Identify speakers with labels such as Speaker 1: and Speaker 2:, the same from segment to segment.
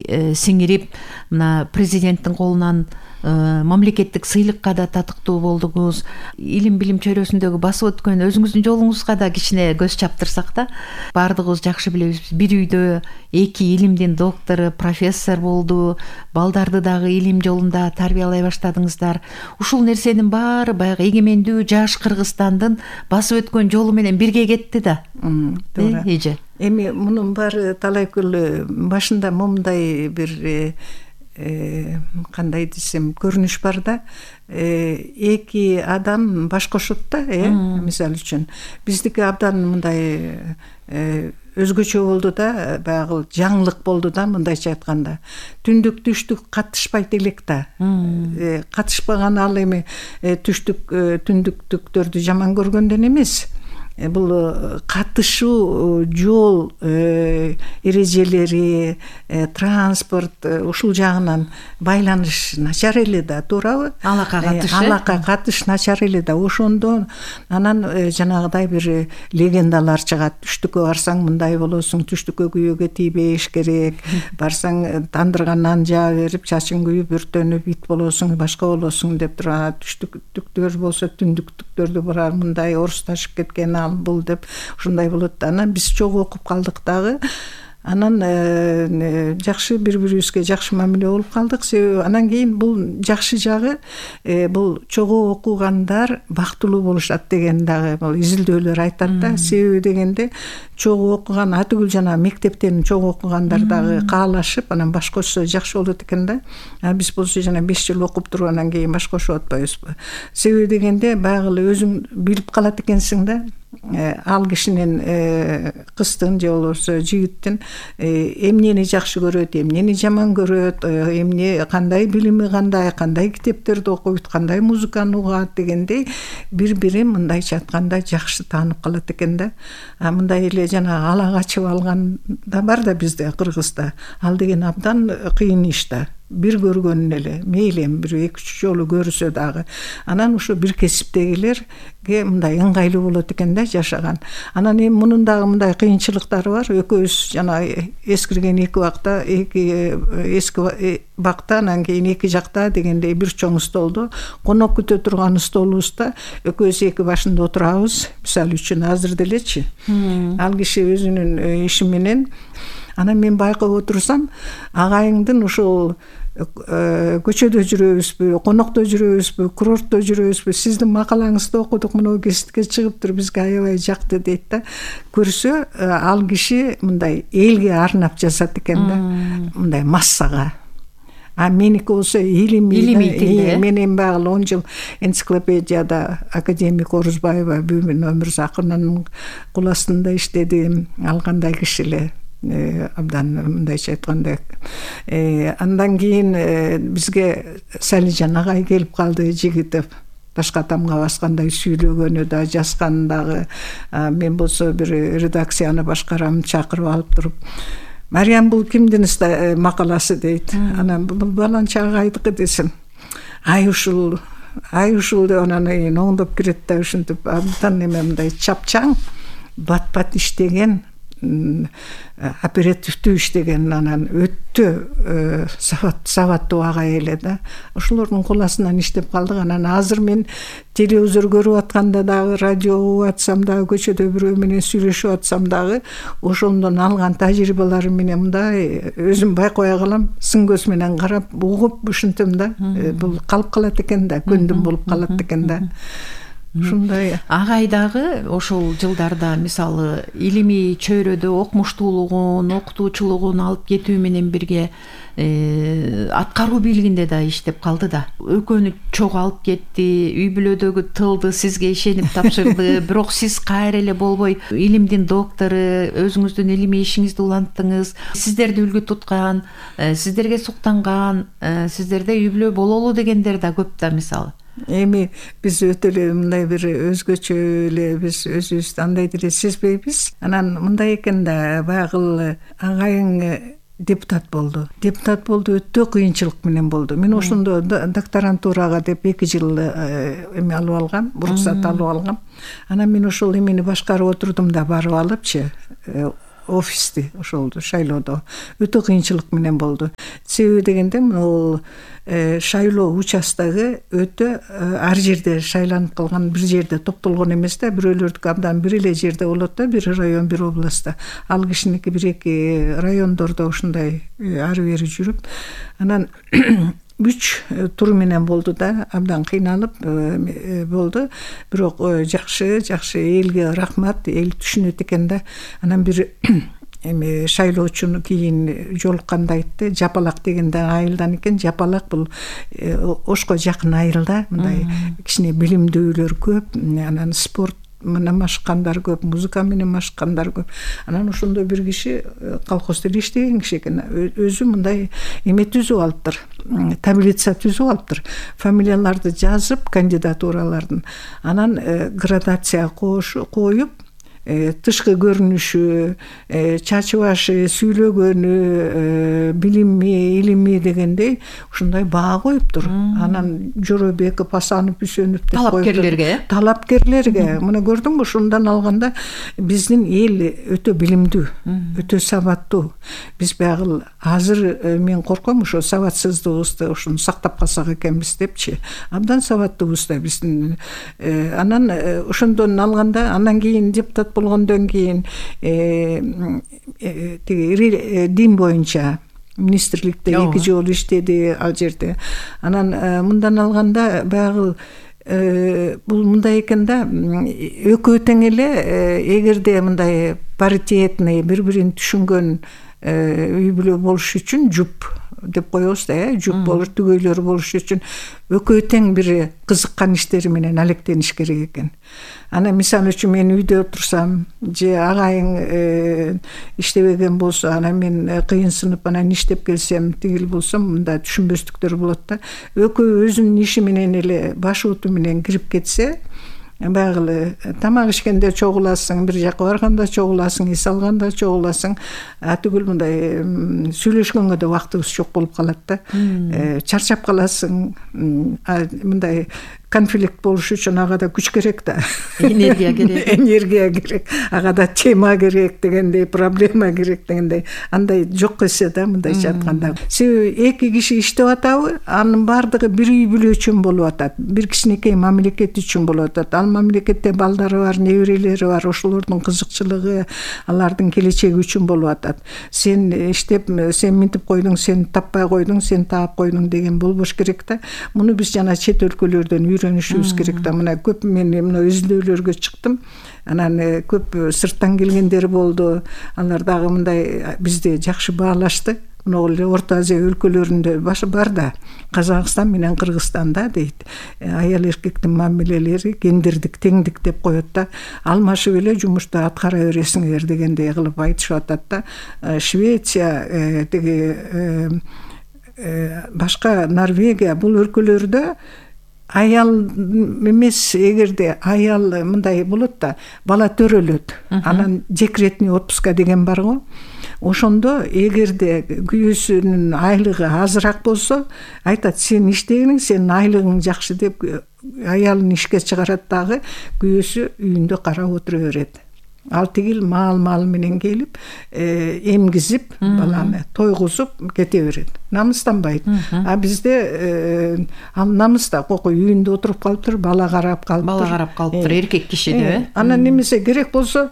Speaker 1: сиңирип мына президенттин колунан мамлекеттик сыйлыкка да татыктуу болдуңуз. Илим билим чөйрөсүндөгү басып өткөн өзүңүздүн жолуңузга да кичине көз чаптырсак да, баардыгыбыз жакшы билебиз, бир үйдө 2 илимдин доктору, профессор болду, балдарды дагы илим жолунда тарбиялай баштадыңыздар. Ушул нерсенин баары баягы эгемендүү жаш Кыргызстандын басып өткөн жолу менен бирге кетти да.
Speaker 2: Туура.
Speaker 1: Эже.
Speaker 2: Эми мунун баары талайкөл башында момундай бир кандай десем көрүнүш бар да, 2 адам баш кошот да, мисалы үчүн биздики абдан мындай өзгөчө болду да, баягы жаңылык болду да, мындайча айтканда. Түндүк түштүк катышпайт элек да. Катышпаган ал эми түндүктүктөрдү жаман көргөндөн эмес. Бул катышуу жол эрежелери, транспорт ушул жагынан байланыш начар эле да, туурабы? Алака катыш начар эле да. Ошондо анан жанагыдай бир легендалар чыгат. Түштүккө барсаң мындай болосуң, түштүккө күйөөгө тийбеш керек. Барсаң тандырган нан жаа берип, чачың күйүп, өртөнүп, ит болосуң, башка болосуң деп тура. Түштүктөр болсо түндүктүктөрдү барар, мындай орусташып кеткен бул деп ушундай болот да. Анан биз чогуу окуп калдык дагы. Анан жакшы бири-бирибизге жакшы мамиле болуп калдык. Себеби анан кийин бул жакшы жагы, бул чогуу окугандар бактылуу болушат деген дагы бул изилдөөлөр айтат да. Себеби дегенде чогуу окуган атүгүл жана мектептен чогуу окугандар дагы каалашып, анан баш кошсо жакшы болот экен да. Биз болсо жана 5 жыл окуп туруп анан кийин баш кошуп атпайбызбы? Себеби дегенде баягы эле өзүң билип калат экенсиң да. Ал кишинин кыздын же болбосо жигиттин эмнени жакшы көрөт, эмнени жаман көрөт, эмне кандай билими кандай китептерди окуйт, кандай музыканы угат дегендей бири-бирин мындайча айтканда жакшы таанып калат экен да. Мындай эле жана ала качып алган да бар да бизде Кыргызда. Ал деген абдан кыйын иш да. Бир көргөнүн эле, мейли эми бир 2-3 жолу көрсө дагы. Анан ошо бир кесиптегилерге мындай ыңгайлуу болот экен да жашаган. Анан эми мунун дагы мындай кыйынчылыктары бар. Экөөбүз жана эскирген 2 бакта, эски бакта, анан кийин 2 жакта дегендей бир чоң столдо конок күтө турган столубузда экөөбүз 2 башында отурабыз. Мисалы үчүн азыр делечи. Ал киши өзүнүн иши менен. Анан мен байкап отурсам, агайыңдын ушул көчөдө жүрөбүзбү, конокто жүрөбүзбү, курортто жүрөбүзбү, сиздин макалаңызды окудук, мына гезитке чыгыптыр, бизге аябай жакты дейт да. Көрсө, ал киши мындай элге арнап жазат экен да, мындай массага. Меники болсо илимий тилде. Мен эми баягы 10 жыл энциклопедияда академик Орузбаева Бүүмүн Өмүрзакынын кул астында иштедим. Ал кандай киши эле. Абдан мындайча айтканда. Андан кийин бизге Салижан агай келип калды, Жигитов. Ташка тамга баскандай сүйлөгөнү да, жазганы дагы. Мен болсо бир редакцияны башкарам, чакырып алып туруп, Мариям, бул кимдин макаласы дейт. Анан бул баланча агайдыкы десем. Ай ушул деп анан оңдоп кирет да, ушинтип абдан эме мындай чапчаң, бат иштеген, оперативдүү иштеген, анан өтө сабаттуу агай эле да. Ошолордун кол астынан иштеп калдык. Анан азыр мен телевизор көрүп атканда дагы, радио угуп атсам дагы, көчөдө бирөө менен сүйлөшүп атсам дагы, ошондон алган тажрыйбаларым менен мындай өзүм байкабай калам, сын көз менен карап, угуп ушинтем да. Бул калып калат экен да, көндүм болуп калат экен да. Ушундай.
Speaker 1: Агай дагы ошол жылдарда мисалы илимий чөйрөдө окумуштуулугун, окутуучулугун алып кетүү менен бирге аткаруу бийлигинде да иштеп калды да. Экөөнү чогуу алып кетти, үй бүлөдөгү тылды сизге ишенип тапшырды. Бирок сиз кайра эле болбой илимдин доктору, өзүңүздүн илимий ишиңизди уланттыңыз. Сиздерди үлгү туткан, сиздерге суктанган, сиздерде үй бүлө бололу дегендер да көп да мисалы.
Speaker 2: Эми биз өтө эле мындай бир өзгөчө эле биз өзүбүздү андай деле сезбейбиз. Анан мындай экен да, баягы агайың депутат болду. Депутат болду, өтө кыйынчылык менен болду. Мен ошондо докторантурага деп 2 жыл эме алып алгам, уруксат алып алгам. Анан мен ошол эмени башкарып отурдум да, барып алыпчы, офисти ошолду шайлоодо өтө кыйынчылык менен болду. Себеби дегенде бул шайлоо участогу өтө ар жерде шайланып калган, бир жерде топтолгон эмес да, бирөөлөрдүкү абдан бир эле жерде болот да, бир район, бир областта. Ал кишиники бир эки райондордо ушундай ары бери жүрүп, анан 3 тур менен болду да, абдан кыйналып болду. Бирок жакшы элге рахмат, эл түшүнөт экен да. Анан бир шайлоочуну кийин жолукканда айтты, Жапалак дегенде айылдан экен. Жапалак бул Ошко жакын айылда, мындай кичине билимдүүлөр көп, анан спорт менен машыккандар көп, музыка менен машыккандар көп. Анан ошондой бир киши колхозда иштеген киши экен. Өзү мындай эме түзүп алыптыр, таблица түзүп алыптыр. Фамилияларды жазып, кандидатуралардын. Анан градация коюп, тышкы көрүнүшү, чачы башы, сүйлөгөнү, билими, илими дегендей ушундай баа коюптур. Анан Жоробеков, Асанов, Үсөнов деп коюптур. Талапкерлерге. Мына көрдүңбү, ушундан алганда биздин эл өтө билимдүү, өтө сабаттуу. Биз баягы азыр мен корком ошо сабатсыздыгыбызды ушуну сактап калсак экенбиз депчи. Абдан сабаттуубуз да биздин. Анан ошондон алганда, андан кийин депутат болгондон кийин дин боюнча министрликте 2 жолу иштеди ал жерде. Анан мындан алганда баягы бул мындай экен да, экөө тең эле, эгерде мындай паритетный, бири-бирин түшүнгөн үй бүлө болуш үчүн жуп деп коебуз да, жуп болуш, түгөйлөр болуш үчүн экөө тең бир кызыккан иштери менен алектениш керек экен. Ана мисалы үчүн мен үйдө отурсам, же агайың иштебеген болсо, анан мен кыйынсынып анан иштеп келсем, тигил болсом, мында түшүнбөстүктөр болот да. Экөө өзүнүн иши менен эле баш уту менен кирип кетсе, баягы тамак ишкенде чогуласың, бир жака барганда чогуласың, эс алганда чогуласың, түгүл мындай сүйлөшкөнгө да убактыбыз жок болуп калат да. Чарчап каласың, мындай конфликт болуш үчүн ага да күч керек да. Энергия керек, ага да тема керек дегендей, проблема керек дегендей. Андай жок эсе да, мындайча айтканда. Себеби эки киши иштеп атабы, анын бардыгы бир үй бүлө үчүн болуп атат, бир кичинекей мамлекет үчүн болуп атат. Ал мамлекетте балдары бар, неберелери бар, ошолордун кызыкчылыгы, алардын келечеги үчүн болуп атат. Сен иштеп, сен минтип койдуң, сен таппай койдуң, сен таап койдуң деген болбош керек да. Муну биз жана чет өлкөлөрдөн үйрөнүшүбүз керек да. Мына көп мен мына изилдөөлөргө чыктым. Анан көп сырттан келгендер болду. Алар дагы мындай бизди жакшы баалашты. Могул эле Орто Азия өлкөлөрүндө бар да, Казакстан менен Кыргызстанда дейт. Аял эркектин мамилелери гендердик теңдик деп коет да. Алмашып эле жумушту аткара бересиңер дегендей кылып айтышып атат да. Швеция, башка Норвегия бул өлкөлөрдө аял эмес, эгерде аял мындай болот да, бала төрөлөт, анан декретный отпуска деген бар го. Ошондо эгерде күйөөсүнүн айлыгы азыраак болсо, айтат, сен иштегениң, сенин айлыгың жакшы деп аялын ишке чыгарат дагы, күйөөсү үйүндө карап отура берет. Ал тигил маал менен келип, эмгизип, баланы тойгузуп кете берет. Намыстанбайт. А бизде ал намыста кокой үйүндө отуруп калыптыр, бала карап калыптыр,
Speaker 1: эркек киши деп.
Speaker 2: Анан немесе керек болсо,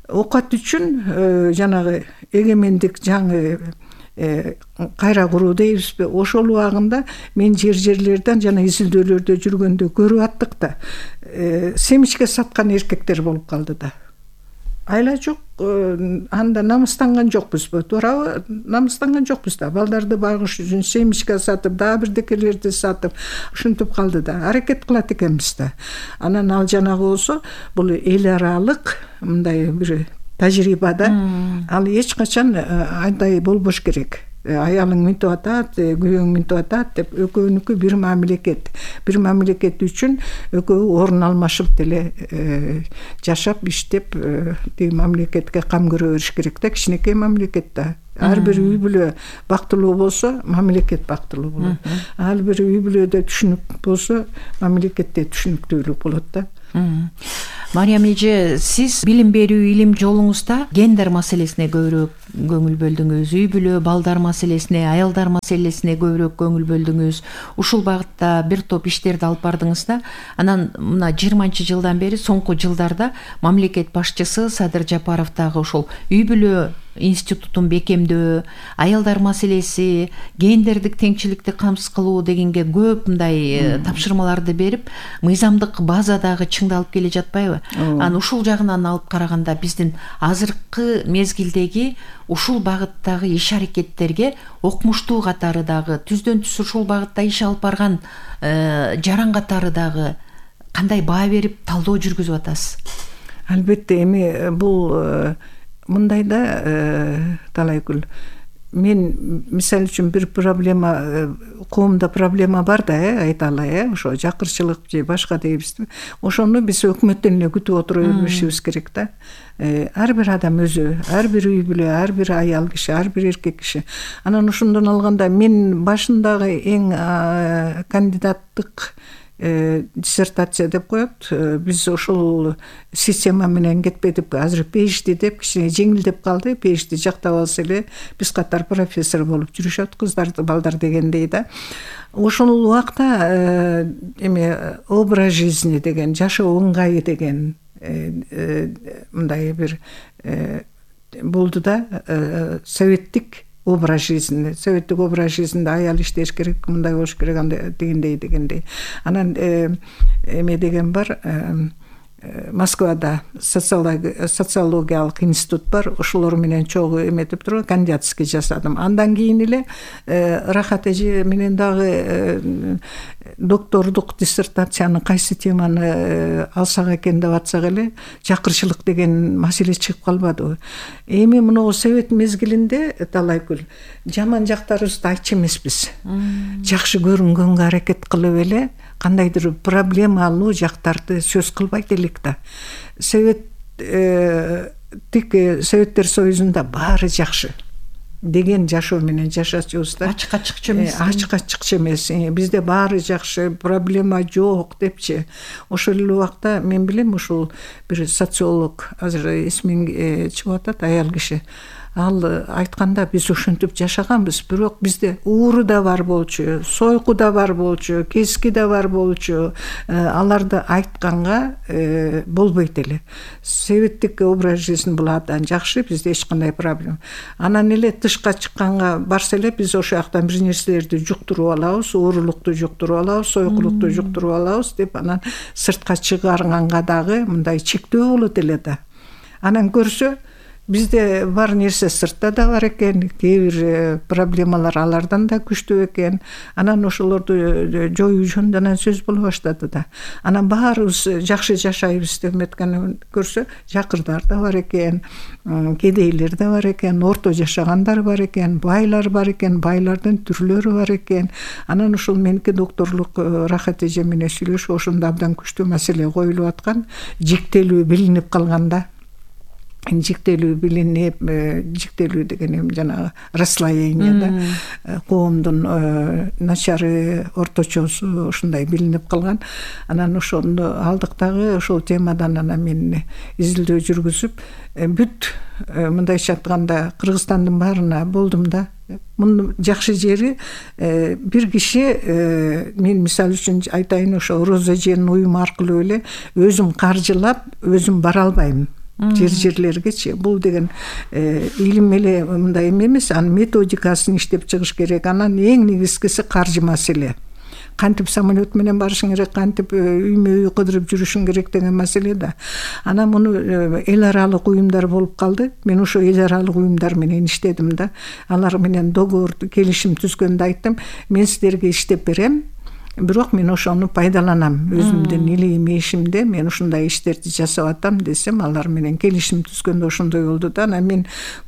Speaker 2: оокат үчүн жанагы эгемендик жаңы кайра куруу дейбизби, ошол убагында мен жерлерден жана изилдөөлөрдө жүргөндө көрүп аттык да, семечке саткан эркектер болуп калды да. Айла жок, анда намыстанган жокпузбу, туурабы? Намыстанган жокпуз да. Балдарды багыш үчүн семечка сатып, дагы бирдекелерди сатып, ушинтип калды да. Аракет кылат экенбиз да. Анан ал жанагы болсо, бул эл аралык мындай бир тажрыйба да. Ал эч качан андай болбош керек. Аялың минтип атат, күйөөң минтип атат деп экөөнүкү бир мамлекет. Бир мамлекет үчүн экөө орун алмашып деле жашап, иштеп, тиги мамлекетке кам көрө бериш керек да, кичинекей мамлекет да. Ар бир үй бүлө бактылуу болсо, мамлекет бактылуу болот. Ар бир үй бүлөдө түшүнүк болсо, мамлекетте түшүнүктүүлүк болот да.
Speaker 1: Мариям эже, сиз билим берүү илим жолуңузда гендер маселесине көбүрөөк көңүл бөлдүңүз, үй бүлө, балдар маселесине, аялдар маселесине көбүрөөк көңүл бөлдүңүз. Ушул багытта бир топ иштерди алып бардыңыз да. Анан мына 20-жылдан бери, соңку жылдарда мамлекет башчысы Садыр Жапаров дагы ошол үй бүлө институтун бекемдөө, аялдар маселеси, гендердик теңчиликти камсыз кылуу дегенге көп мындай тапшырмаларды берип, мыйзамдык база дагы чыңдалып келе жатпайбы? Анан ушул жагынан алып караганда биздин азыркы мезгилдеги ушул багыттагы иш аракеттерге окумуштуу катары дагы, түздөн түз ушул багытта иш алып барган жаран катары дагы кандай баа берип талдоо жүргүзүп атасыз?
Speaker 2: Албетте, эми бул мындай да талайкүл. Мен мисалы үчүн бир проблема, коомдо проблема бар да, айта алай, ошо жакырчылык же башка дейбизби. Ошону биз өкмөттөн эле күтүп отура беришибиз керек да. Ар бир адам өзү, ар бир үй бүлө, ар бир аял киши, ар бир эркек киши. Анан ошондон алганда мен башындагы эң кандидаттык диссертация деп коет. Биз ошол система менен кетпедик. Азыр PhD деп кичине жеңилдеп калды. PhD жактап алса эле биз катар профессор болуп жүрүшөт кыздар, балдар дегендей да. Ошол убакта эме образ жизни деген, жашоо ыңгайы деген мындай бир болду да, советтик образ жизни, советтик образ жизнинде аял иштеш керек, мындай болуш керек, андай дегендей. Анан эме деген бар, Москвада социологиялык институт бар, ошолор менен чогуу эметип туруп кандидатский жасадым. Андан кийин эле Рахат эже менен дагы доктордук диссертацияны кайсы теманы алсак экен деп атсак эле жакырчылык деген маселе чыгып калбадыбы. Эми мына совет мезгилинде талайкүл жаман жактарыбызды айтчу эмеспиз. Жакшы көрүнгөнгө аракет кылып эле кандайдыр проблемалуу жактарды сөз кылбайт элек да. Советтер Союзунда баары жакшы деген жашоо менен жашачубуз да.
Speaker 1: Ачык-ачыкчы эмес.
Speaker 2: Ачык-ачыкчы эмес. Бизде баары жакшы, проблема жок депчи. Ошол эле убакта мен билем, ушул бир социолог, азыр эсимин чыгып атат, аял киши. Ал айтканда биз ошентип жашаганбыз, бирок бизде ууру да бар болчу, сойку да бар болчу, кески да бар болчу. Аларды айтканга болбойт эле. Советтик образ жизни бул абдан жакшы, бизде эч кандай проблема. Анан эле тышка чыкканга барса эле биз ошол жактан бир нерселерди жуктуруп алабыз, уурулукту жуктуруп алабыз, сойкулукту жуктуруп алабыз деп анан сыртка чыгарганга дагы мындай чектөө болот эле да. Анан көрсө бизде бар нерсе сыртта да бар экен, кээ бир проблемалар алардан да күчтүү экен. Анан ошолорду жоюу жөнүндө сөз боло баштады да. Анан баарыбыз жакшы жашайбыз деп эметкенди көрсө, жакырдар да бар экен, кедейлер да бар экен, орто жашагандар бар экен, байлар бар экен, байлардын түрлөрү бар экен. Анан ошол меники докторлук Рахат эже менен сүйлөшүп, ошондо абдан күчтүү маселе коюлуп аткан, жиктелүү билинип калганда. Жиктелүү билинип, жиктелүү деген эми жанагы расслоение да, коомдун начары, орточосу ушундай билинип калган. Анан ошону алдык дагы ошол темадан анан мен изилдөө жүргүзүп, бүт мындайча айтканда Кыргызстандын баарына болдум да. Мунун жакшы жери бир киши, мен мисалы үчүн айтайын, ошо Роза эженин уюму аркылуу эле өзүм каржылап, өзүм бара албайм. Жерлергечи. Бул деген илим эле мындай эмес, анын методикасын иштеп чыгыш керек. Анан эң негизгиси каржы маселе. Кантип самолет менен барышың керек, кантип үймө үй кыдырып жүрүшүң керек деген маселе да. Анан муну эл аралык уюмдар болуп калды. Мен ошо эл аралык уюмдар менен иштедим да. Алар менен договор, келишим түзгөндө айттым, мен силерге иштеп берем. Бирок мен ошону пайдаланам. Өзүмдүн илим ишимде мен ушундай иштерди жасап атам десем, алар менен келишим түзгөндө ошондой болду да. Анан мен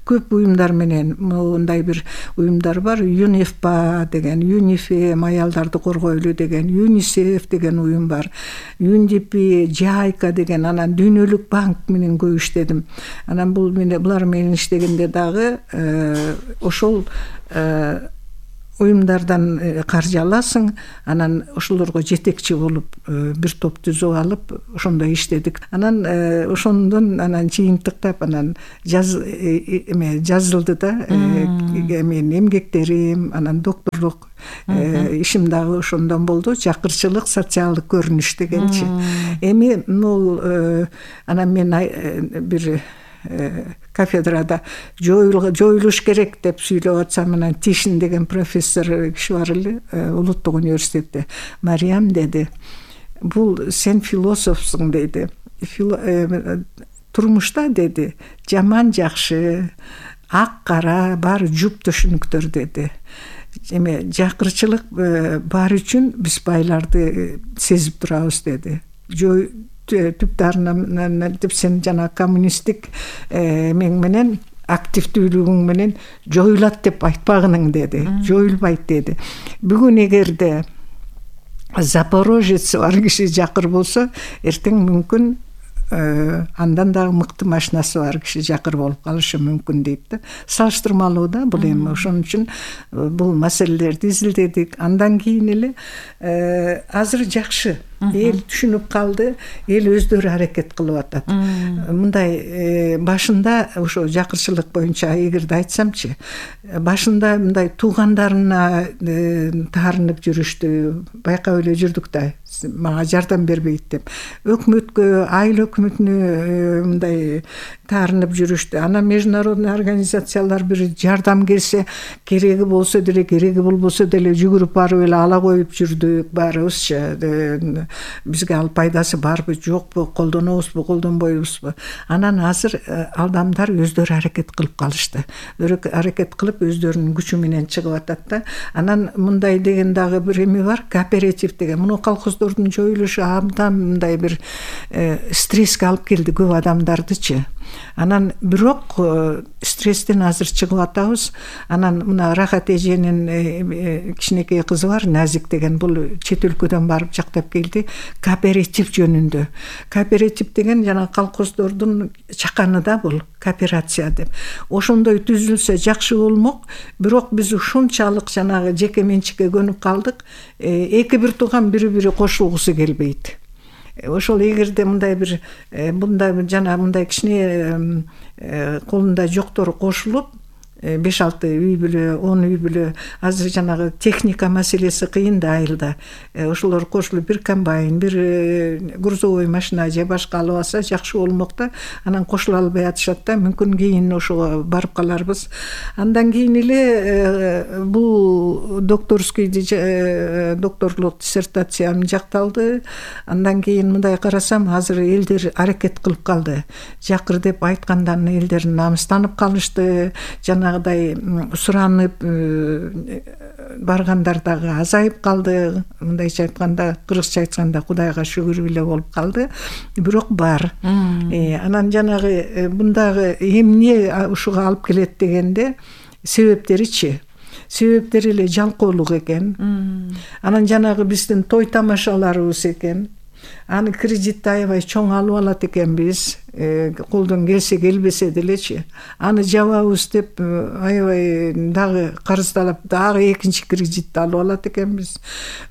Speaker 2: көп уюмдар менен, мындай бир уюмдар бар, ЮНИФПА деген, ЮНИФЕМ, аялдарды коргойлу деген, ЮНИСЕФ деген уюм бар, ЮНДП, ЖАЙКА деген, анан Дүйнөлүк банк менен көп иштедим. Анан булар менен иштегенде дагы ошол уюмдардан каржы аласың, анан ошолорго жетекчи болуп бир топ түзүп алып ошондой иштедик. Анан ошондон анан жыйынтыктап анан жазылды да менин эмгектерим, анан докторлук ишим дагы ошондон болду. Жакырчылык социалдык көрүнүш дегенчи. Эми могул анан мен бир кафедрада жоюлуш керек деп сүйлөп атсам, анан Тишин деген профессор киши бар эле улуттук университетте. Мариям деди, бул сен философсуң деди. Турмушта деди, жаман жакшы, ак кара баары жуп түшүнүктөр деди. Эми жакырчылык бар үчүн биз байларды сезип турабыз деди. Түптарынан деп сен жана коммунисттик эң менен активдүүлүгүң менен жоюлат деп айтпагының деди. Жоюлбайт деди. Бүгүн эгерде Запорожец бар киши жакыр болсо, эртең мүмкүн андан дагы мыкты машинасы бар киши жакыр болуп калышы мүмкүн дейт да. Салыштырмалуу да бул эми. Ошон үчүн бул маселелерди изилдедик. Андан кийин эле азыр жакшы эл түшүнүп калды, эл өздөрү аракет кылып атат. Мындай башында ошо жакырчылык боюнча эгерде айтсамчы, башында мындай туугандарына таарынып жүрүштү, байкап эле жүрдүк да, мага жардам бербейт деп. Өкмөткө, айыл өкмөтүнө мындай таарынып жүрүштү. Анан международный организациялар бир жардам келсе, кереги болсо деле, кереги болбосо деле жүгүрүп барып эле ала коюп жүрдүк баарыбызчы. Бизге ал пайдасы барбы, жокпу, колдонобузбу, колдонбойбузбу. Анан азыр адамдар өздөрү аракет кылып калышты. Аракет кылып өздөрүнүн күчү менен чыгып атат да. Анан мындай деген дагы бир эме бар, кооператив деген. Муну колхоздордун жоюлушу абдан мындай бир стресске алып келди көп адамдардычы. Анан бирок стресстен азыр чыгып атабыз. Анан мына Рахат эженин кичинекей кызы бар, Назик деген, бул чет өлкөдөн барып жактап келди. Кооператив жөнүндө. Кооператив деген жана колхоздордун чаканы да бул, кооперация деп. Ошондой түзүлсө жакшы болмок. Бирок биз ушунчалык жанагы жеке менчикке көнүп калдык. Эки бир тууган бири-бири кошулгусу келбейт. Ошол эгерде мындай бир жана мындай кичине колунда жоктор кошулуп 5-6 үй бүлө, 10 үй бүлө, азыр жанагы техника маселеси кыйын да айылда. Ошолор кошулуп бир комбайн, бир грузовой машина же башка алып алса жакшы болмок да. Анан кошула албай атышат да, мүмкүн кийин ошого барып каларбыз. Андан кийин эле бул докторлук диссертациям жакталды. Андан кийин мындай карасам, азыр элдер аракет кылып калды. Жакыр деп айткандан элдер намыстанып калышты. Жанагыдай суранып баргандар дагы азайып калды. Мындайча айтканда, кыргызча айтканда, Кудайга шүгүр эле болуп калды. Бирок бар. Анан жанагы бундагы эмне ушуга алып келет дегенде, себептеричи. Себептери эле жалкоолук экен. Анан жанагы биздин той тамашаларыбыз экен. Аны кредитти аябай чоң алып алат экенбиз. Колдон келсе келбесе делечи. Аны жабабыз деп аябай дагы карыздалып, дагы экинчи кредитти алып алат экенбиз.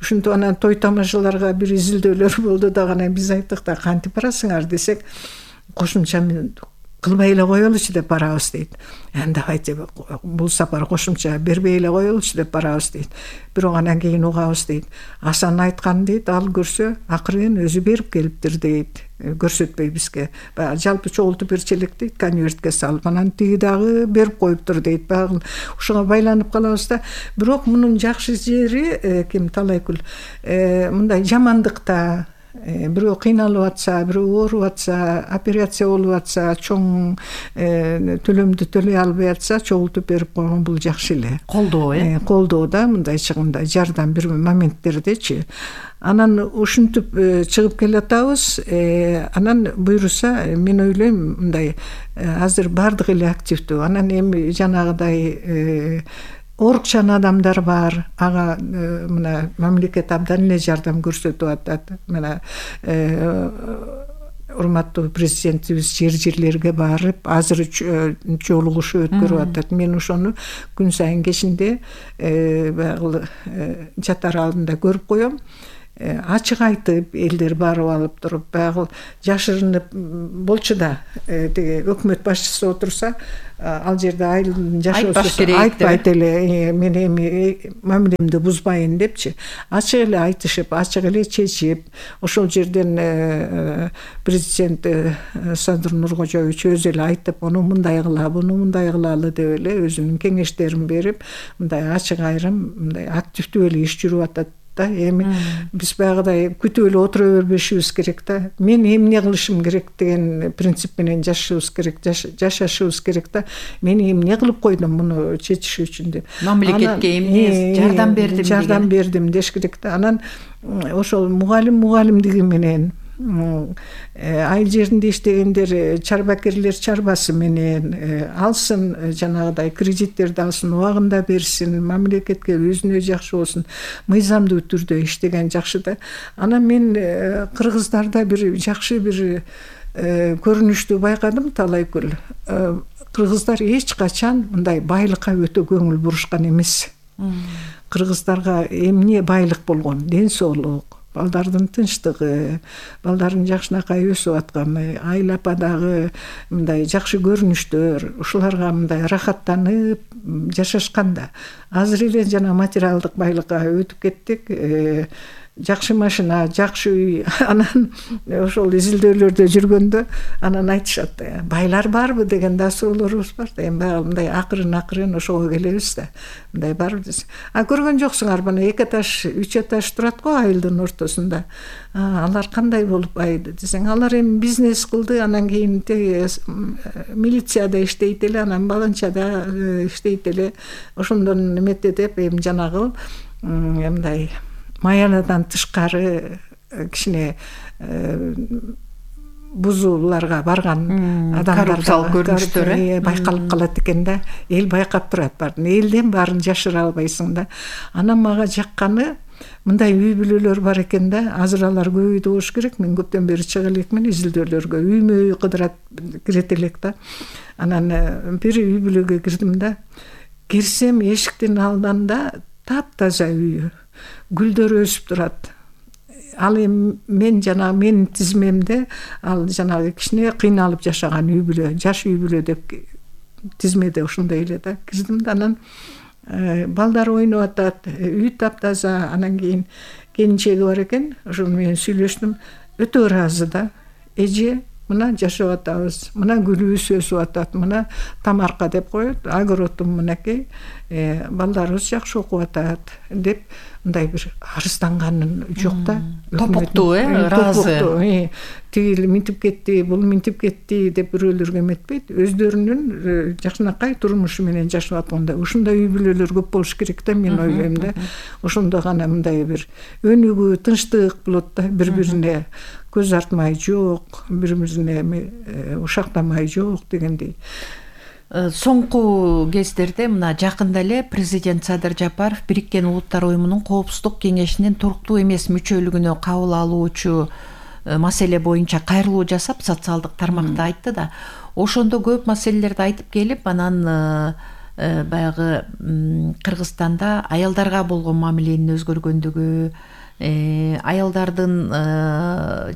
Speaker 2: Ушинтип анан той тамашаларга бир изилдөөлөр болду дагы. Анан биз айттык да, кантип барасыңар десек, кошумча кылбай эле коелучу деп барабыз дейт. Давайте бул сапар кошумча бербей эле коелучу деп барабыз дейт. Бирок анан кийин угабыз дейт. Асан айткан дейт, ал көрсө акырын өзү берип келиптир дейт. Көрсөтпөй бизге. Жалпы чогултуп берчелек дейт, конвертке салып. Анан тиги дагы берип коюптур дейт. Багы ушуга байланып калабыз да. Бирок мунун жакшы жери ким Талайкүл мындай жамандыкта бирөө кыйналып атса, бирөө ооруп атса, операция болуп атса, чоң төлөмдү төлөй албай атса, чогултуп берип койгон бул жакшы эле. Колдоо, колдоо да, мындай чыгымда жардам бир моменттердечи. Анан ушинтип чыгып келатабыз. Анан буйруса, мен ойлойм, мындай азыр бардык эле активдүү. Анан эми жанагыдай орукчан адамдар бар. Ага мына мамлекет абдан эле жардам көрсөтүп атат. Мына урматтуу президентибиз жерлерге барып азыр жолугуш өткөрүп атат. Мен ошону күн сайын кечинде баягы жатар алдында көрүп коем. Ачык айтып элдер барып алып туруп баягы жашырынып болчу да тиги өкмөт башчысы отурса ал жерде айылдын жашоосу айтпайт эле мен эми мамилемди бузбайын депчи, ачык эле айтышып, ачык эле чечип, ошол жерден президент Садыр Нуркожоевич өзү эле айтып, муну мындай кыла, буну мындай кылалы деп эле өзүнүн кеңештерин берип, мындай ачык айрым мындай активдүү эле иш жүрүп атат да. Эми биз баягыдай күтүп эле отура бербешибиз керек да. Мен эмне кылышым керек деген принцип менен жашашыбыз керек да. Мен эмне кылып койдум муну чечиш үчүн деп.
Speaker 1: Мамлекетке эмне жардам
Speaker 2: бердим деш керек да. Анан ошол мугалимдиги менен айыл жеринде иштегендер чарбакерлер чарбасы менен алсын, жанагыдай кредиттерди алсын, убагында берсин, мамлекетке өзүнө жакшы болсун, мыйзамдуу түрдө иштеген жакшы да. Анан мен кыргыздарда бир жакшы бир көрүнүштү байкадым талайкөл. Кыргыздар эч качан мындай байлыкка өтө көңүл бурушкан эмес. Кыргыздарга эмне байлык болгон? Ден соолук, балдардын тынчтыгы, балдардын жакшынакай өсүп атканы, айыл ападагы мындай жакшы көрүнүштөр, ушуларга мындай рахаттанып жашашканда. Азыр эле жана материалдык байлыкка өтүп кеттик. Жакшы машина, жакшы үй. Анан ошол изилдөөлөрдө жүргөндө анан айтышат, байлар барбы деген да суроолорубуз бар да. Эми баягы мындай акырын ошого келебиз да. Мындай барбы десе. Көргөн жоксуңар, мына 2 этаж, 3 этаж турат го айылдын ортосунда. Алар кандай болуп байды десең, алар эми бизнес кылды, анан кийин милицияда иштейт эле, анан баланчада иштейт эле. Ошондон эмете деп эми жанагы мындай маянадан тышкары кичине бузууларга барган адамдар көрүнүштөр байкалып калат экен да. Эл байкап турат баарын. Элден баарын жашыра албайсың да. Анан мага жакканы мындай үй бүлөлөр бар экен да. Азыр алар көбөйдү болуш керек. Мен көптөн бери чыга элекмин изилдөөлөргө. Үймө үй кыдырат кирет элек да. Анан бир үй бүлөгө кирдим да. Кирсем эшиктин алдында таптаза үйү. Гүлдөр өсүп турат. Ал эми менин тизмемде ал жанагы кичине кыйналып жашаган үй бүлө, жаш үй бүлө деп тизмеде ошондой эле да. Кирдим да, анан балдар ойноп атат, үй таптаза. Анан кийин келинчеги бар экен, ошол менен сүйлөштүм. Өтө ыраазы да. Эже, мына жашап атабыз, мына гүлүбүз өсүп атат, мына тамарка деп коет, огородум мынакей, балдарыбыз жакшы окуп атат деп мындай бир арызданганын жок да.
Speaker 1: Топуктуу, ыраазы.
Speaker 2: Тигил минтип кетти, бул минтип кетти деп бирөөлөргө эметпейт. Өздөрүнүн жакшынакай турмушу менен жашап атканда ушундай үй бүлөлөр көп болуш керек да, мен ойлойм да. Ошондо гана мындай бир өнүгүү, тынчтык болот да, бири-бирине көз артмай жок, бири-бирине ушактамай жок дегендей.
Speaker 1: Соңку кездерде мына жакында эле президент Садыр Жапаров Бириккен Улуттар Уюмунун Коопсуздук кеңешинин туруктуу эмес мүчөлүгүнө кабыл алуучу маселе боюнча кайрылуу жасап, социалдык тармакта айтты да. Ошондо көп маселелерди айтып келип, анан баягы Кыргызстанда аялдарга болгон мамиленин өзгөргөндүгү, аялдардын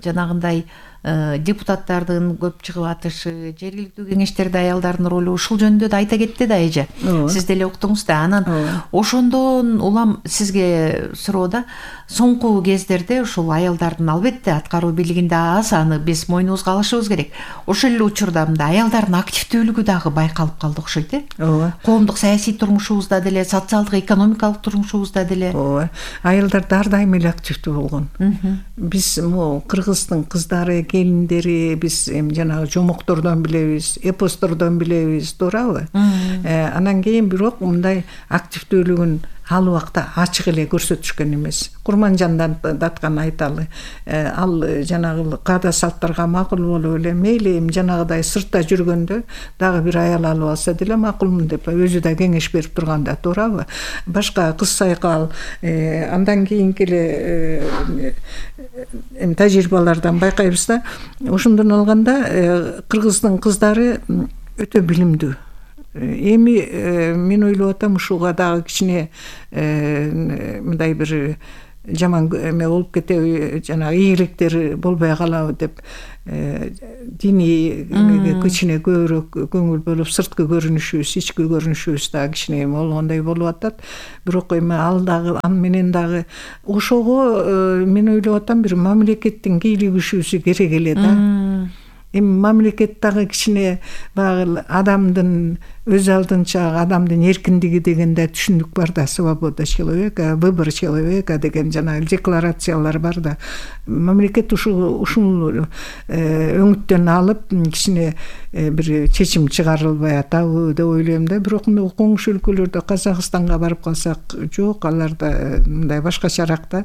Speaker 1: жанагындай депутаттардын көп чыгып атышы, жергиликтүү кеңештерде аялдардын ролу, ушул жөнүндө да айта кетти да эже. Сиз деле уктуңуз да. Анан ошондон улам сизге суроо да, соңку кездерде ушул аялдардын албетте аткаруу бийлигинде аз, аны биз мойнубузга алышыбыз керек. Ошол эле учурда мындай аялдардын активдүүлүгү дагы байкалып калды окшойт, коомдук саясий турмушубузда деле, социалдык экономикалык турмушубузда деле.
Speaker 2: Аялдар ар дайым эле активдүү болгон. Биз Кыргыздын кыздары, келиндери биз эми жанагы жомоктордон билебиз, эпостордон билебиз, туурабы? Анан кийин бирок мындай активдүүлүгүн ал убакта ачык эле көрсөтүшкөн эмес. Курманжандан даткан айталы, ал жанагы каада салттарга макул болуп эле мейли эми жанагыдай сыртта жүргөндө дагы бир аял алып алса деле макулмун деп өзү да кеңеш берип турганда туурабы? Башка кыз сайкал андан кийинки эле эми тажрыйбалардан байкайбыз да, ошондон алганда кыргыздын кыздары өтө билимдүү. Эми мен ойлоп атам, ушуга дагы кичине мындай бир жаман эме болуп кетеби, жанагы ийгиликтер болбой калабы деп диний кичине көбүрөөк көңүл бөлүп, сырткы көрүнүшүбүз, ички көрүнүшүбүз дагы кичине эме болгондой болуп атат. Бирок эми ал дагы аны менен дагы ошого мен ойлоп атам, бир мамлекеттин кийлигишүүсү керек эле да. Эми мамлекет дагы кичине баягы адамдын өз алдынча адамдын эркиндиги дегенде түшүнүк бар да, свобода человека, выбор человека деген жана декларациялар бар да. Мамлекет ушул өңүттөн алып кичине бир чечим чыгарылбай атабы деп ойлойм да. Бирок мына коңшу өлкөлөрдө, Казакстанга барып калсак, жок, аларда мындай башкачараак да.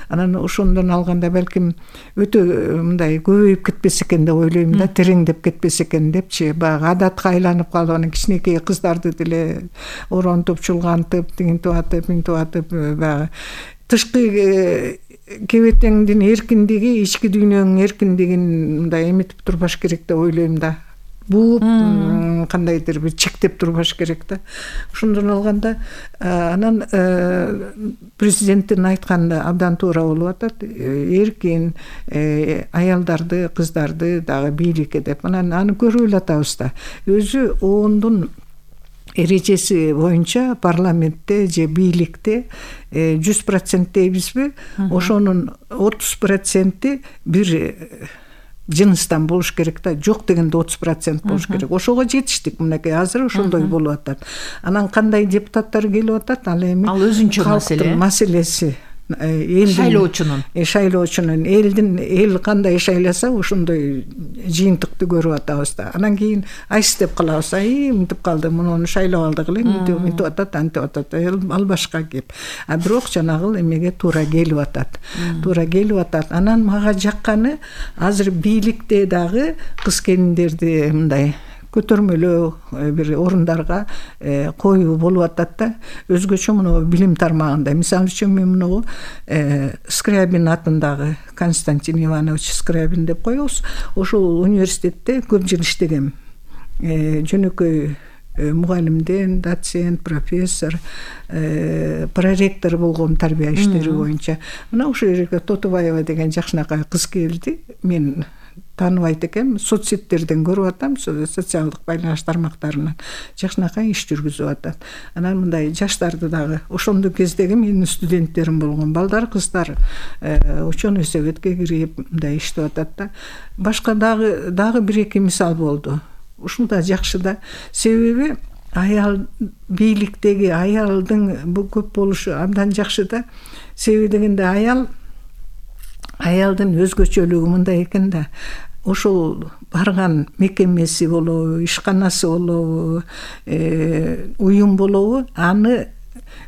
Speaker 2: Анан ошондон алганда балким өтө мындай көбөйүп кетпесе экен деп ойлойм да, тереңдеп кетпесе экен депчи. Баягы адатка айланып калып, анан кичинекей кыздарды деле оронтуп, чулгантып, тигинтип атып, баягы тышкы кебетеңдин эркиндиги, ички дүйнөнүн эркиндигин мындай эметип турбаш керек деп ойлойм да. Бууп, кандайдыр бир чектеп турбаш керек да. Ошондон алганда анан президенттин айтканы абдан туура болуп атат. Эркин аялдарды, кыздарды дагы бийликке деп. Анан аны көрүп эле атабыз да. Өзү оондун эрежеси боюнча парламентте же бийликте 100% дейбизби, ошонун 30% бир жыныстан болуш керек да, жок дегенде 30% болуш керек. Ошого жетиштик мынакей, азыр ошондой болуп атат. Анан кандай депутаттар келип атат, ал эми
Speaker 1: ал өзүнчө
Speaker 2: маселеси. Шайлоочунун эл кандай шайласа ошондой жыйынтыкты көрүп атабыз да. Анан кийин айс деп калабыз, мынтип калды, муну шайлап алдык эле, мынтип атат, антип атат. Ал башка кеп. Бирок жанагы эмеге туура келип атат. Анан мага жакканы, азыр бийликте дагы кыз келиндерди мындай көтөрмөлөө бир орундарга коюу болуп атат да. Өзгөчө муну билим тармагында. Мисалы үчүн мен муну Скрябин атындагы Константин Иванович Скрябин деп коебуз. Ошол университетте көп жыл иштегем. Жөнөкөй мугалимден доцент, профессор, проректор болгом тарбия иштери боюнча. Мына ошол жерге Тотубаева деген жакшынакай кыз келди. Мен тааныбайт экенмин, соцсеттерден көрүп атам, социалдык байланыш тармактарынан жакшынакай иш жүргүзүп атат. Анан мындай жаштарды дагы ошондо кездеги менин студенттерим болгон балдар, кыздар ученый советке кирип мындай иштеп атат да. Башка дагы бир-эки мисал болду. Ушул да жакшы да. Себеби аял бийликтеги аялдын бул көп болушу абдан жакшы да. Себеби дегенде аялдын өзгөчөлүгү мындай экен да. Ошол барган мекемеси болобу, ишканасы болобу, уюм болобу, аны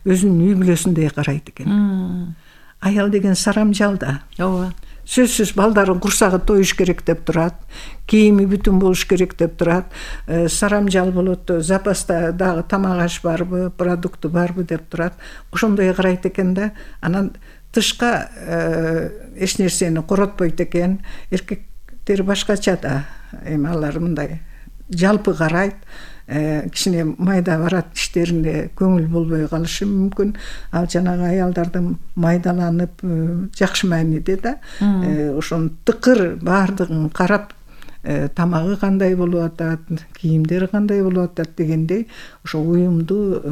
Speaker 2: өзүнүн үй бүлөсүндөй карайт экен. Аял деген сарамжал да.
Speaker 1: Ооба.
Speaker 2: Сөзсүз балдарын курсагы тоюш керек деп турат, кийими бүтүн болуш керек деп турат, сарамжал болот, запаста дагы тамак аш барбы, продукты барбы деп турат. Ошондой карайт экен да. Анан тышка эч нерсени коротпойт экен. Эркектер башкача да. Эми алар мындай жалпы карайт. Кичине майда барат иштерине көңүл болбой калышы мүмкүн. Ал жанагы аялдардын майдаланып жакшы мааниде да, ошону тыкыр баардыгын карап, тамагы кандай болуп атат, кийимдери кандай болуп атат дегендей, ошо уюмду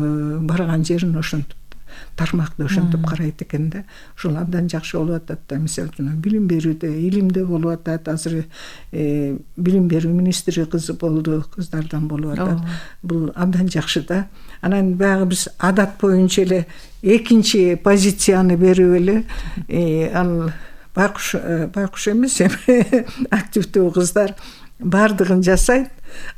Speaker 2: барган жерин ошентип тармакты ошентип карайт экен да. Ошол абдан жакшы болуп атат да. Мисалы үчүн билим берүүдө, илимде болуп атат. Азыр билим берүү министри кызы болду, кыздардан болуп атат. Бул абдан жакшы да. Анан баягы биз адат боюнча эле экинчи позицияны берип эле, ал байкуш эмес, активдүү кыздар баардыгын жасайт.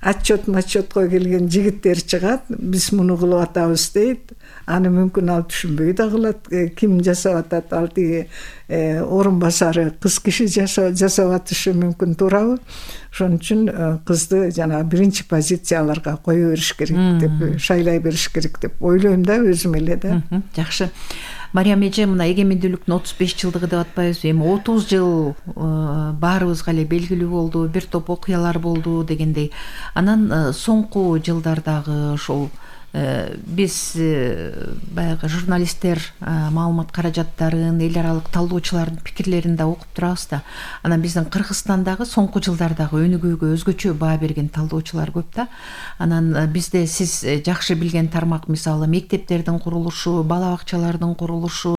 Speaker 2: Отчетко келген жигиттер чыгат, биз муну кылып атабыз дейт. Аны мүмкүн ал түшүнбөй да кылат. Ким жасап атат, ал тиги орун басары кыз киши жасап атышы мүмкүн, туурабы? Ошон үчүн кызды жана биринчи позицияларга кое бериш керек деп, шайлай бериш керек деп ойлойм да өзүм эле да.
Speaker 1: Жакшы. Мариям эже, мына эгемендүүлүктүн 35 жылдыгы деп атпайбызбы? Эми 30 жыл баарыбызга эле белгилүү болду, бир топ окуялар болду дегендей. Анан соңку жылдардагы ошол биз баягы журналисттер маалымат каражаттарын, эл аралык талдоочулардын пикирлерин да окуп турабыз да. Анан биздин Кыргызстандагы соңку жылдардагы өнүгүүгө өзгөчө баа берген талдоочулар көп да. Анан бизде сиз жакшы билген тармак, мисалы мектептердин курулушу, бала бакчалардын курулушу,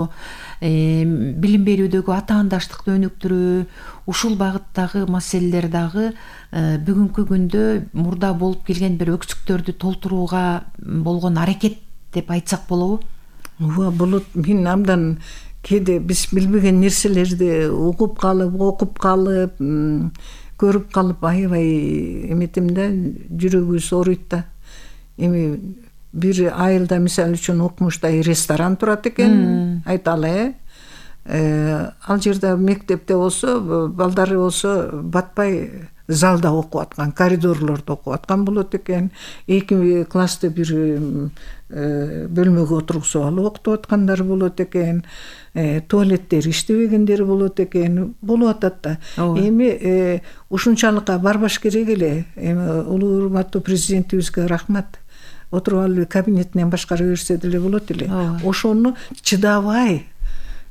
Speaker 1: билим берүүдөгү атаандаштыкты өнүктүрүү, ушул багыттагы маселелер дагы бүгүнкү күндө мурда болуп келген бир өксүктөрдү толтурууга болгон аракет деп айтсак болобу?
Speaker 2: Ооба, болот. Мен абдан кээде биз билбеген нерселерди угуп калып, окуп калып, көрүп калып аябай эметем да, жүрөгүбүз ооруйт да. Эми бир айылда мисалы үчүн Окмуштай ресторан турат экен, айталы, ал жерде мектепте болсо, балдары болсо батпай залда окуп аткан, коридорлордо окуп аткан болот экен. 2 классты бир бөлмөгө отургузуп алып окутуп аткандар болот экен. Туалеттер иштебегендер болот экен. Болуп атат да. Эми ушунчалыкка барбаш керек эле. Эми улуу урматтуу президентибизге рахмат. Отуруп алып кабинетинен башкара берсе деле болот эле. Ошону чыдабай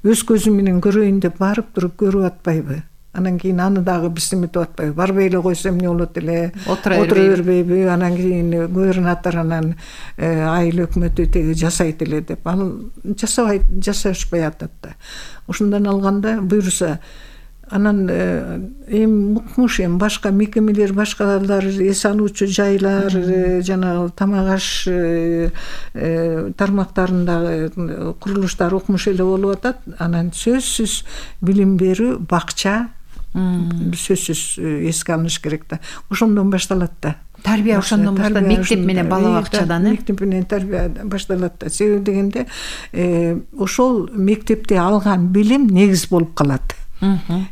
Speaker 2: өз көзүм менен көрөйүн деп барып туруп көрүп атпайбы? Анан кийин аны дагы биз эметип атпайбы? Барбай эле койсо эмне болот эле? Отура бербейби? Анан кийин губернатор анан айыл өкмөтү теги жасайт эле деп. Ал жасашпай атат да. Ошондон алганда буюрса, анан эми Укмуш, эми башка мекемелер, башкалар, эс алуучу жайлар, жанагы тамак аш тармактарындагы курулуштар Укмуш эле болуп атат. Анан сөзсүз билим берүү, бакча сөзсүз эске алыныш керек да. Ошондон башталат да.
Speaker 1: Тарбия ошондон башталат, мектеп менен бала бакчадан,
Speaker 2: мектеп менен тарбия башталат да. Себеби дегенде ошол мектепте алган билим негиз болуп калат.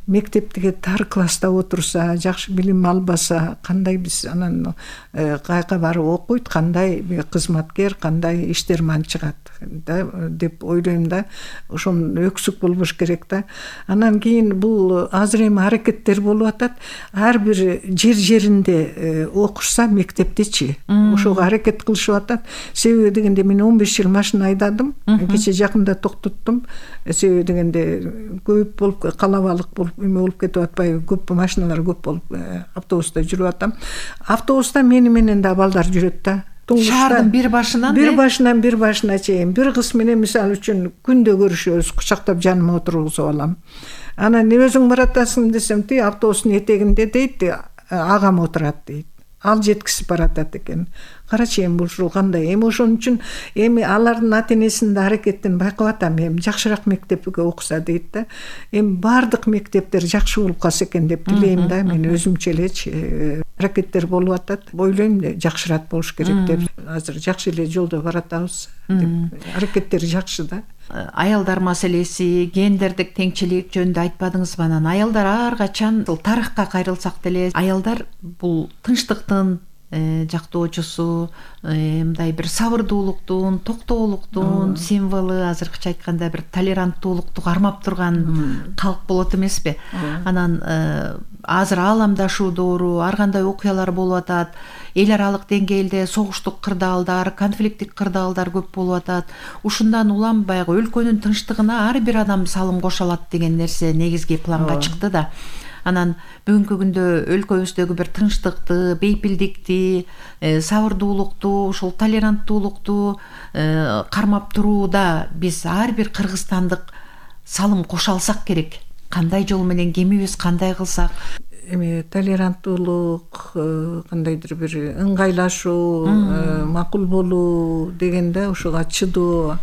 Speaker 2: Мектептеги тар класста отурса, жакшы билим албаса, кандай биз анан кайка барып окуйт, кандай кызматкер, кандай иштерман чыгат да деп ойлойм да. Ошон өксүк болбош керек да. Анан кийин бул азыр эми аракеттер болуп атат. Ар бир жеринде окушса мектептичи, ошого аракет кылышып атат. Себеби дегенде мен 15 жыл машина айдадым. Кече жакында токтоттум. Себеби дегенде көп болуп, калабалык болуп, эме болуп кетип атпайбы? Көп машиналар көп болуп, автобуста жүрүп атам. Автобуста мени менен да балдар жүрөт да.
Speaker 1: Шаардын бир
Speaker 2: башына чейин. Бир кыз менен мисалы үчүн күндө көрүшөбүз, кучактап жаныма отургузуп алам. Анан өзүң баратасың десем, ти автобустун этегинде дейт, агам отурат дейт. Ал жеткизип баратат экен. Карачы эми ушул кандай? Эми ошон үчүн эми алардын ата-энесинин аракетин байкап атам. Эми жакшыраак мектепке окуса дейт да. Эми баардык мектептер жакшы болуп калса экен деп тилейм да. Мен өзүмчө элечи аракеттер болуп атат. Ойлойм жакшыраак болуш керек деп. Азыр жакшы эле жолдо баратабыз деп. Аракеттер жакшы да.
Speaker 1: Аялдар маселеси, гендердик теңчилик жөнүндө айтпадыңызбы? Анан аялдар ар качан, тарыхка кайрылсак деле, аялдар бул тынчтыктын жактоочусу, мындай бир сабырдуулуктун, токтоолуктун символу, азыркыча айтканда бир толеранттуулукту кармап турган калк болот эмеспи? Анан азыр ааламдашуу доору, ар кандай окуялар болуп атат. Эл аралык деңгээлде согуштук кырдаалдар, конфликттик кырдаалдар көп болуп атат. Ушундан улам баягы өлкөнүн тынчтыгына ар бир адам салым кошо алат деген нерсе негизги планга чыкты да. Анан бүгүнкү күндө өлкөбүздөгү бир тынчтыкты, бейпилдикти, сабырдуулукту, ушул толеранттуулукту кармап турууда биз ар бир кыргызстандык салым кошо алсак керек. Кандай жол менен кемибиз, кандай кылсак?
Speaker 2: Эми толеранттуулук, кандайдыр бир ыңгайлашуу, макул болуу дегенде, ушуга чыдоо,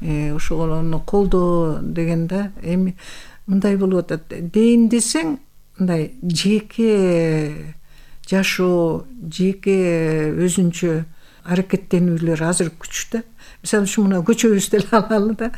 Speaker 2: ошону колдоо дегенде, эми мындай болуп атат. Дейин десең, мындай жеке жашоо, жеке өзүнчө аракеттенүүлөр азыр күчтө. Мисалы үчүн мына көчөбүздү эле алалы да.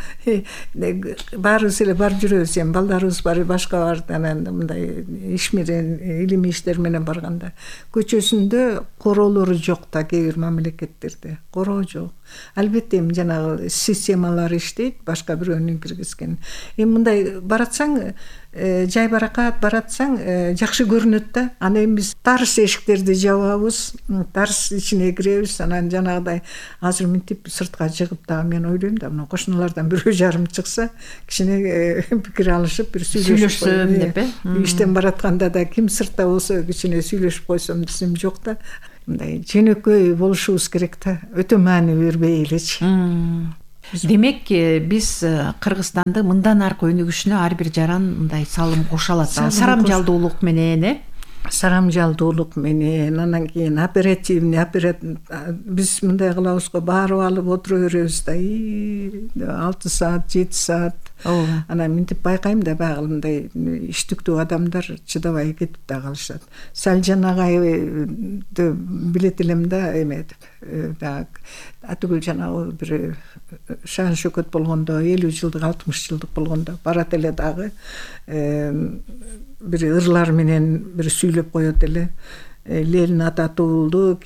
Speaker 2: Баарыбыз эле барып жүрөбүз, эми балдарыбыз бар, башка бар, анан мындай иш менен, илимий иштер менен барганда көчөсүндө короолору жок да, кээ бир мамлекеттерде короо жок. Албетте эми жанагы системалар иштейт, башка бирөөнүн киргизген. Эми мындай баратсаң, жай баракат баратсаң жакшы көрүнөт да. Аны эми биз тарс эшиктерди жабабыз, тарс ичине киребиз. Анан жанагыдай азыр минтип сыртка чыгып дагы мен ойлойм да, мына кошуналардан бирөө жарым чыкса, кичине пикир алышып, бир сүйлөшсөм деп, иштен баратканда да ким сыртта болсо кичине сүйлөшүп койсом десем жок да. Мындай жөнөкөй болушубуз керек да, өтө маани бербей элечи.
Speaker 1: Демек, биз Кыргызстанды мындан аркы өнүгүшүнө ар бир жаран мындай салым кошо алат. Сарамжалдуулук менен,
Speaker 2: сарамжалдуулук менен, анан кийин оперативный, биз мындай кылабыз го, барып алып отура беребиз да, 6 саат, 7 саат. Анан минтип байкайм да, баягы мындай иштиктүү адамдар чыдабай кетип да калышат. Салжан агайды билет элем да, эме атүгүл жанагы бир шан шөкөт болгондо, 50 жылдык, 60 жылдык болгондо барат эле дагы бир ырлар менен бир сүйлөп коет эле. Ленин ата туулду,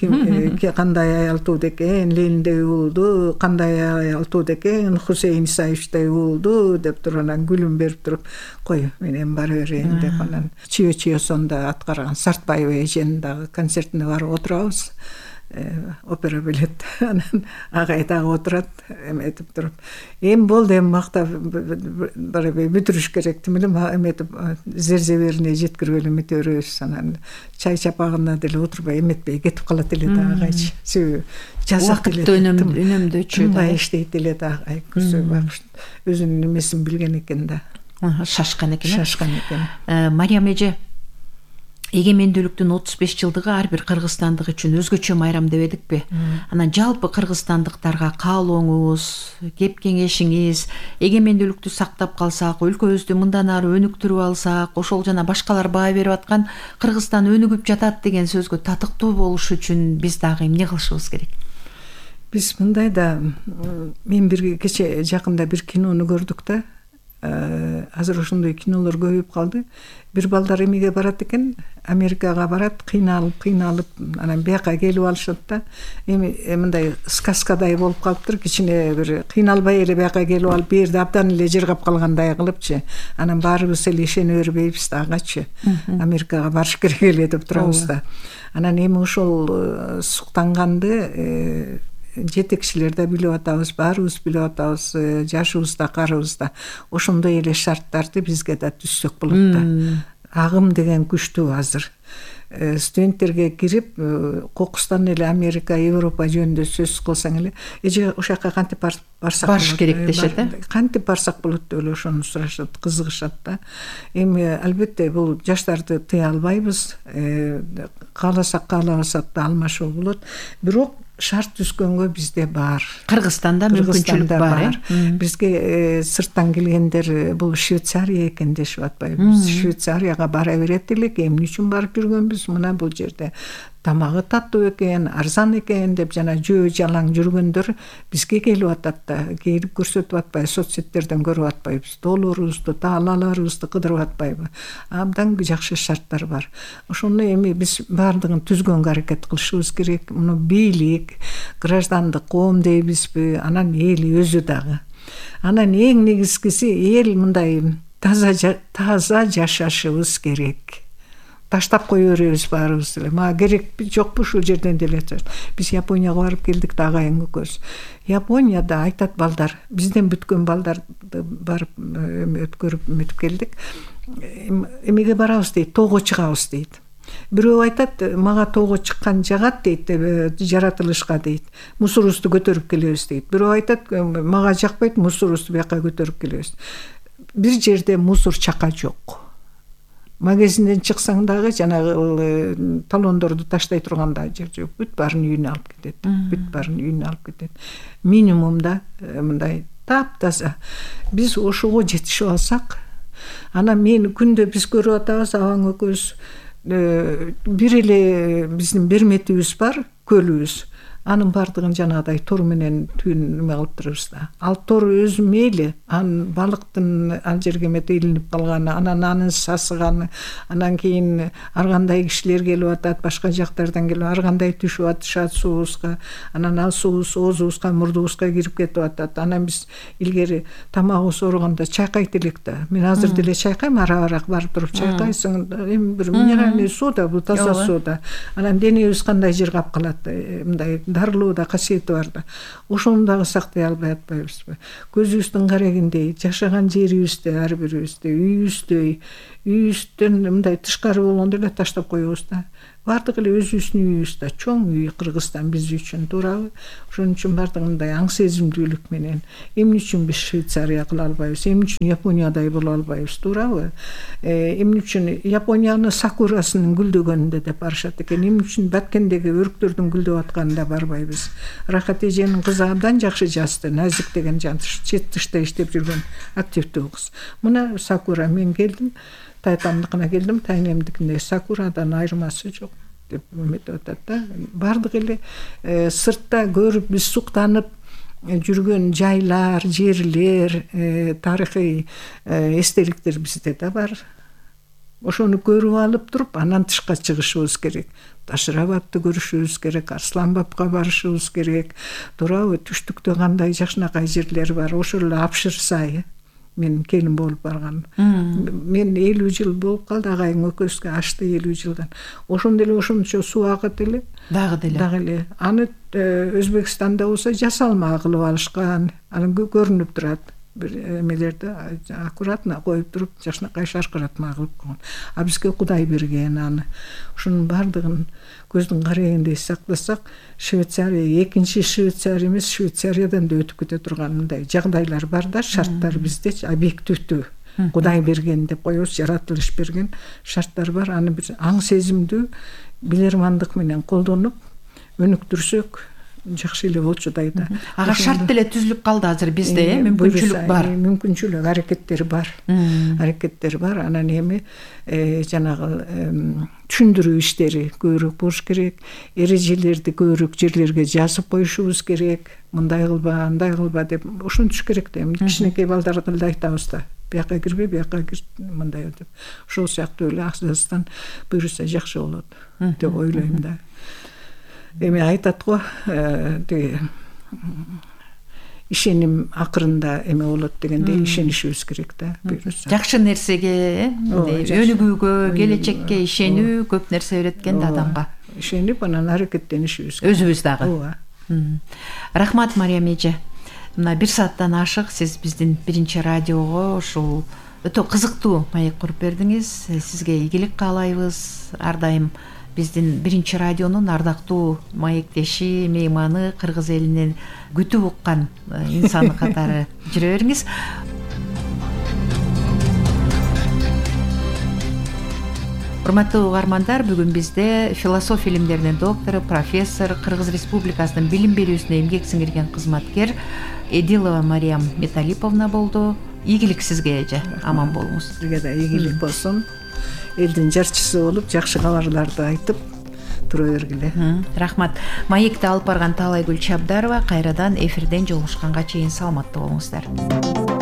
Speaker 2: кандай аял тууду экен, Лениндей уулду, кандай аял тууду экен, Хусейин Исаевичтей уулду деп туруп, анан күлүм берип туруп, кой менен бара берейин деп, анан Чио-Чиосонда аткарган Сартбаева эженин дагы концертине барып отурабыз. Опера билет, анан агай дагы отурат, эметип туруп. Эми болду, эми мактап барабай бүтүрүш керек демеле, эметип зерзеберине жеткирбей эмете беребиз. Анан чай чапагына деле отурбай эметпей кетип калат эле да агайчы. Себеби жазат эле.
Speaker 1: Үнөмдөчү да.
Speaker 2: Мындай иштейт эле да агай, өзүнүн эмесин билген экен да.
Speaker 1: Шашкан экен.
Speaker 2: Шашкан экен.
Speaker 1: Мариям эже, эгемендүүлүктүн 35 жылдыгы ар бир кыргызстандык үчүн өзгөчө майрам дебедикпи? Анан жалпы кыргызстандыктарга каалооңуз, кеп кеңешиңиз, эгемендүүлүктү сактап калсак, өлкөбүздү мындан ары өнүктүрүп алсак, ошол жана башкалар баа берип аткан Кыргызстан өнүгүп жатат деген сөзгө татыктуу болуш үчүн биз дагы эмне кылышыбыз керек?
Speaker 2: Биз мындай да, мен бир кече жакында бир кинону көрдүк да. Азыр ошондой кинолор көбөйүп калды. Бир балдар эмеге барат экен, Америкага барат, кыйналып, анан бияка келип алышат да. Эми мындай сказкадай болуп калыптыр, кичине бир кыйналбай эле бияка келип алып, бир жерде абдан эле жыргап калгандай кылыпчы. Анан баарыбыз эле ишене бербейбиз да, агачы. Америкага барыш керек эле деп турабыз да. Анан эми ошол суктанганды жетекчилер да билип атабыз, баарыбыз билип атабыз, жашыбыз да, карыбыз да. Ошондой эле шарттарды бизге да түзсөк болот да. Агым деген күчтүү азыр. Студенттерге кирип, кокустан эле Америка, Европа жөнүндө сөз кылсаң эле, эже ошол жака кантип барсак
Speaker 1: барыш керек дешет,
Speaker 2: кантип барсак болот деп эле ошону сурашат, кызыгышат да. Эми албетте бул жаштарды тыя албайбыз. Кааласак, каалабасак да алмашуу болот. Бирок шарт түзгөнгө бизде бар.
Speaker 1: Кыргызстанда мүмкүнчүлүк бар.
Speaker 2: Бизге сырттан келгендер бул Швейцария экен дешип атпайбы. Биз Швейцарияга бара берет элек, эмне үчүн барып жүргөнбүз? Мына бул жерде тамагы таттуу экен, арзан экен деп жана жөө жалаң жүргөндөр бизге келип атат да, келип көрсөтүп атпайбы, соцсеттерден көрүп атпайбыз, долларыбызды, талаларыбызды кыдырып атпайбы. Абдан жакшы шарттар бар. Ошону эми биз баардыгын түзгөнгө аракет кылышыбыз керек. Муну бийлик, граждандык коом дейбизби, анан эл өзү дагы. Анан эң негизгиси эл мындай таза жашашыбыз керек. Таштап кое беребиз баарыбыз эле. Мага керек жокпу ушул жерден деле. Биз Японияга барып келдик да, агайым экөөбүз. Японияда айтат балдар, бизден бүткөн балдарды барып өткөрүп өтүп келдик. Эмеге барабыз дейт, тоого чыгабыз дейт. Бирөө айтат, мага тоого чыккан жагат дейт, жаратылышка дейт. Мусорубузду көтөрүп келебиз дейт. Бирөө айтат, мага жакпайт, мусорубузду бияка көтөрүп келебиз. Бир жерде мусор чака жок. Магазинден чыксаң дагы жанагы талондорду таштай турган да жер жок. Бүт баарын үйүнө алып кетет. Бүт баарын үйүнө алып кетет. Минимумда мындай таптаза. Биз ошого жетишип алсак, анан мен күндө биз көрүп атабыз, абаң экөөбүз бир эле биздин берметибиз бар, көлүбүз. Анын бардыгын жанагыдай тор менен түйүн неме кылып турабыз да. Ал тор өзү мейли, анын балыктын ал жерге эмете илинип калганы, анан анын сасыганы, анан кийин ар кандай кишилер келип атат, башка жактардан келип, ар кандай түшүп атышат суубузга, анан ал суубуз оозубузга, мурдубузга кирип кетип атат. Анан биз илгери тамагыбыз оорugондо чайкайт элек да. Мен азыр деле чайкайм, ара-арак барып туруп чайкайсың, эми бир минеральный суу да, бул таза суу да. Анан денебиз кандай жер кап калат, мындай дарылоо да касиети бар да. Ошону дагы сактай албай атпайбызбы? Көзүбүздүн карегиндей жашаган жерибизде, ар бирибизде, үйүбүздөн мындай тышкары болгондо эле таштап коебуз да. Бардыгы эле өзүбүздүн үйүбүз да, чоң үй Кыргызстан биз үчүн, туурабы? Ошон үчүн бардыгы мындай аң сезимдүүлүк менен эмне үчүн биз Швейцария кыла албайбыз, эмне үчүн Япониядай боло албайбыз, туурабы? Эмне үчүн Японияны сакурасынын гүлдөгөнүндө деп барышат экен, эмне үчүн Баткендеги өрүктөрдүн гүлдөп атканында барбайбыз? Рахат эженин кызы абдан жакшы жазды, Назик деген чет тышта иштеп жүргөн активдүү кыз. Мына сакура, мен келдим, тайтамдыкына келдим, тайнемдикине сакурадан айырмасы жок деп эметип атат да. Бардыгы эле сыртта көрүп биз суктанып жүргөн жайлар, жерлер, тарыхый эстеликтер бизде да бар. Ошону көрүп алып туруп, анан тышка чыгышыбыз керек. Ташырабадты көрүшүбүз керек, Арсланбабка барышыбыз керек. Туурабы? Түштүктө кандай жакшынакай жерлер бар, ошол эле Апшыр сайы. Мен келин болуп барган. Мен 50 жыл болуп калды, агайың экөөбүзгө ашты 50 жылдан. Ошондо эле ошончо суу агат эле. Дагы эле. Аны Өзбекстанда болсо жасалма кылып алышкан. Анан көрүнүп турат. Бир эмелерди аккуратно коюп туруп, жакшынакай шаркыратма кылып койгон. А бизге Кудай берген аны. Ошонун бардыгын көздүн карегиндей сактасак, Швейцария экинчи Швейцария эмес, Швейцариядан да өтүп кете турган мындай жагдайлар бар да, шарттар бизде объективдүү. Кудай берген деп коебуз, жаратылыш берген шарттар бар. Аны бир аң сезимдүү билермандык менен колдонуп өнүктүрсөк жакшы эле болчудай да.
Speaker 1: Ага шарт деле түзүлүп калды азыр бизде, мүмкүнчүлүк бар.
Speaker 2: Мүмкүнчүлүк, аракеттер бар. Аракеттер бар. Анан эми жанагы түшүндүрүү иштери көбүрөөк болуш керек. Эрежелерди көбүрөөк жерлерге жазып коюшубуз керек. Мындай кылба, андай кылба деп ошентиш керек да. Эми кичинекей балдарга деле айтабыз да. Бияка кирбе, бияка кир, мындай деп. Ошол сыяктуу эле Азырстан буюрса жакшы болот деп ойлойм да. Эми айтат го, тиги ишеним акырында эме болот дегендей ишенишибиз керек да.
Speaker 1: Жакшы нерсеге, өнүгүүгө, келечекке ишенүү көп нерсе береткен да адамга.
Speaker 2: Ишенип, анан аракеттенишибиз керек.
Speaker 1: Өзүбүз дагы. Рахмат, Мариям эже. Мына 1 сааттан ашык сиз биздин биринчи радиого ушул өтө кызыктуу маек куруп бердиңиз. Сизге ийгилик каалайбыз. Ар дайым биздин биринчи радионун ардактуу маектеши, мейманы, кыргыз элинин күтүп уккан инсаны катары жүрө бериңиз. Урматтуу угармандар, бүгүн бизде философия илимдеринин доктору, профессор, Кыргыз Республикасынын билим берүүсүнө эмгек сиңирген кызматкер Эдилова Мариям Металиповна болду. Ийгилик сизге эже, аман болуңуз.
Speaker 2: Сизге да ийгилик болсун. Элдин жарчысы болуп, жакшы кабарларды айтып тура бергиле.
Speaker 1: Рахмат. Маекти алып барган Таалайгүл Чабдарова кайрадан эфирден жолугушканга чейин саламаттуу болуңуздар.